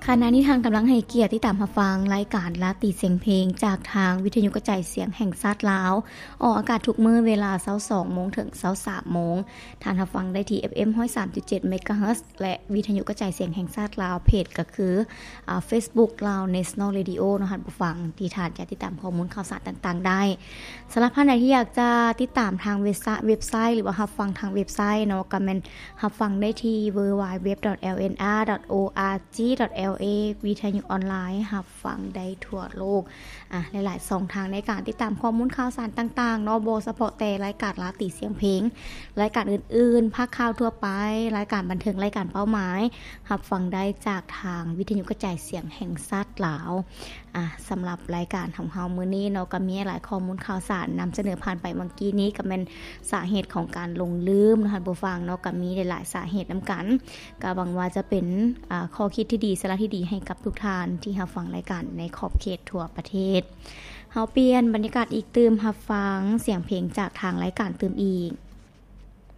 ຂະນະນີ້ທ່ານກຳລັງໃຫ້ກຽດຕິດຕາມຮັບຟັງລາຍການລາຕີສຽງເພງ ຈາກທາງວິທະຍຸກະຈາຍສຽງແຫ່ງຊາດລາວ, ອອກອາກາດທຸກມື້ເວລາຊາວສອງໂມງເຖິງຊາວສາມໂມງ. ທ່ານຮັບຟັງໄດ້ທີ່ ເອັຟເອັມຮ້ອຍສາມຈຸດເຈັດເມກາເຮີດ ແລະ ວິທະຍຸກະຈາຍສຽງແຫ່ງຊາດລາວ, ເພຈກໍຄື ອາ ເຟສບຸກ Lao National Radio ເນາະ ທ່ານຜູ້ຟັງທີ່ທ່ານຈະຕິດຕາມຂໍ້ມູນຂ່າວສານຕ່າງໆໄດ້. ສຳລັບທ່ານໃດທີ່ຢາກຈະຕິດຕາມທາງເວັບໄຊ ເວັບໄຊ ຫຼືວ່າຮັບຟັງທາງເວັບໄຊເນາະ ກໍແມ່ນຮັບຟັງໄດ້ທີ່ www.lnr.org.la ວິທະຍຸອອນລາຍ ຮັບຟັງໄດ້ທົ່ວໂລກ. ອາ ຫຼາຍໆຊ່ອງທາງໃນການຕິດຕາມຂໍ້ມູນຂ່າວສານຕ່າງໆເນາະ, ບໍ່ສະເພາະແຕ່ລາຍການລາຕີສຽງເພງ, ລາຍການອື່ນໆ, ພາກຂ່າວທົ່ວໄປ, ລາຍການບັນເທີງ, ລາຍການເປົ້າໝາຍ, ຮັບຟັງໄດ້ຈາກທາງວິທະຍຸກະຈາຍສຽງແຫ່ງຊາດລາວ. ອາ ສຳລັບລາຍການຂອງເຮົາມື້ນີ້ເນາະ ກໍມີຫຼາຍຂໍ້ມູນຂ່າວສານນຳສະເໜີຜ່ານໄປເມື່ອກີ້ນີ້ ກໍແມ່ນສາເຫດຂອງການຫຼົງລືມເນາະ ທ່ານຜູ້ຟັງເນາະ, ກໍມີຫຼາຍໆສາເຫດນຳກັນ. ກໍຫວັງວ່າຈະເປັນ ອາ ຂໍ້ຄິດທີ່ດີ, ສາລະທີ່ດີໃຫ້ກັບທຸກທ່ານທີ່ຮັບຟັງລາຍການໃນຂອບເຂດທົ່ວປະເທດ. ເຮົາປ່ຽນບັນຍາກາດອີກຕື່ມ, ຮັບຟັງສຽງເພງຈາກທາງລາຍການຕື່ມອີກ.